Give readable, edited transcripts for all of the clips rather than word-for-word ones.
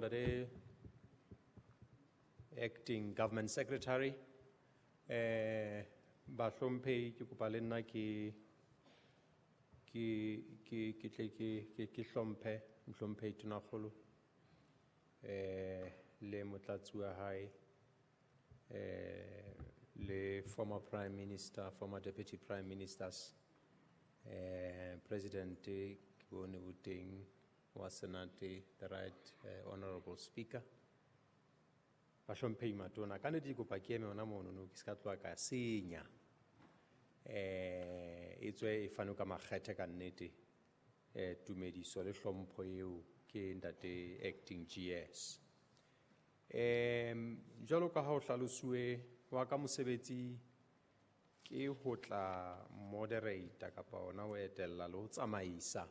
ntate Acting Government Secretary. Bahlomphehi ke kopa le nna ke tle ke hlomphe mohlomphehi Tonakgolo le motlatsi wa hae le former Prime Minister, former Deputy Prime Ministers, President ke bone o teng wa Senate, the Right Honorable Speaker. Bahlomphehi matona, ka nnete ke kopa ke eme hona mono no ke ska tloha ka senya. E tswe e fane ka makgethe ka nnete, tumediso le hlompho eo ke ntate Acting GS. Jwalo ka ha ho hlalosuwe wa ka mosebetsi ke ho tla moderator kapa hona ho etella le ho tsamaisa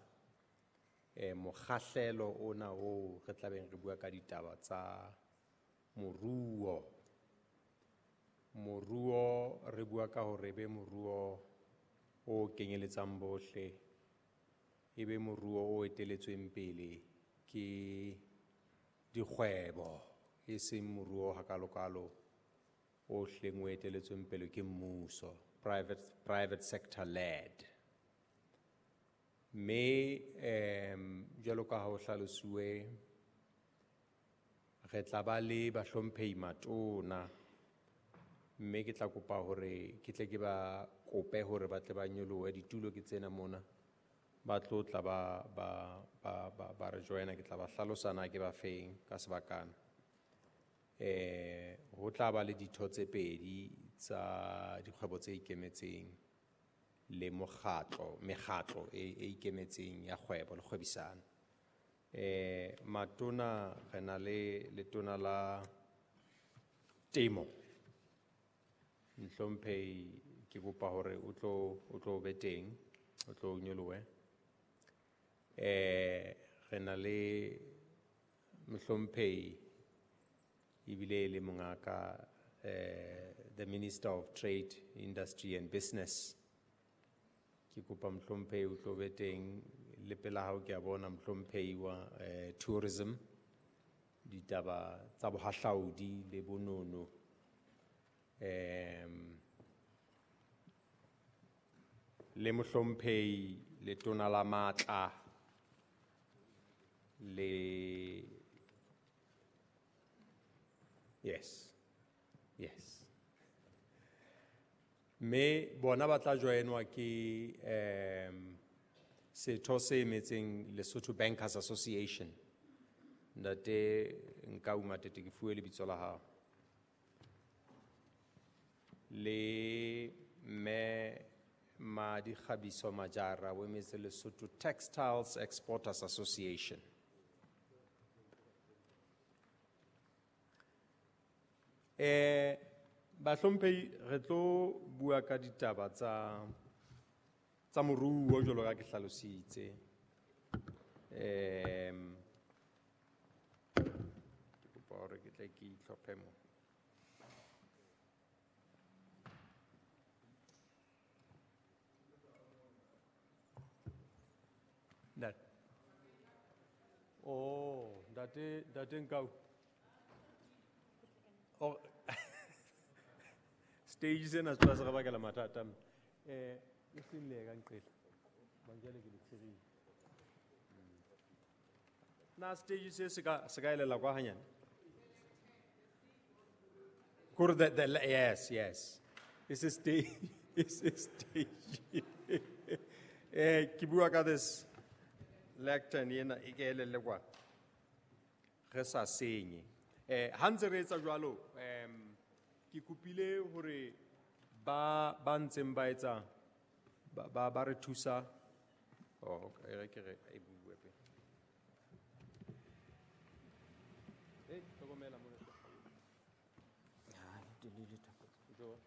mokgahlelo ona oo re tlabeng re bua ka ditaba tsa moruo. Moruo re bua ka hore be moruo o kenyeletsang bohle, e be moruo o eteletsweng pele ke dikgwebo, e seng moruo hakalokalo o hleng o eteletsweng pele ke mmuso, private sector led. Mme jwalo ka ha ho hlalosuwe re tla ba le bahlomphehi matona, mme ke tla kopa hore ke tle ke ba kope hore ba tle ba nyolohe ditulo ke tsena mona, ba tlo tla ba re joina, ke tla ba hlalosa na ke ba feng ka sebakana. Ho tla ba le ditho tse pedi tsa dikgwebo tse ikemetseng le mekgatlo e ikemetseng ya kgwebo le kgwebisano. Matona re na le letona la temo. Mohlomphehi ke kopa hore o tlo be teng, o tlo nyolohe. Re na le mohlomphehi ebile le mongaka, the Minister of Trade, Industry and Business. Ke kopa mohlomphehi o tlo be teng, le pela hao ke a bona mohlomphehi wa tourism, ditaba tsa bohahlaudi le bonono. Le mohlomphehi letona la matla le yes, yes. Mme bona ba tla joinwa ke setho se emetseng Lesotho Bankers Association. Ntate Nkau Matete, ke fuwe lebitso la hao. Le mme Madikgabiso Majara o emetse Lesotho Textiles Exporters Association. Bahlomphehi re tlo bua ka ditaba tsa moruo jwalo ka ke hlalositse. Ke kopa hore ke tle ke itlhophe mo. Ntate. Oh, ntate Nkau. Oh. Stage sena se tla se re bakela mathata. E seng le ka nqela. Banjale ke le tshirile. Na stage se se ka elela kwa hanyane? Kore the yes, yes. It's a stage. It's a stage. Ke bua ka this lectern ena e ke elele kwa. Re sa senye. Ha ntse re etsa jwalo, ke kopile hore ba ntseng ba etsa, ba re thusa. Oh, okay, re ke re e bue pele. Hlokomela mona. Ha, di le le thapelo. Jo.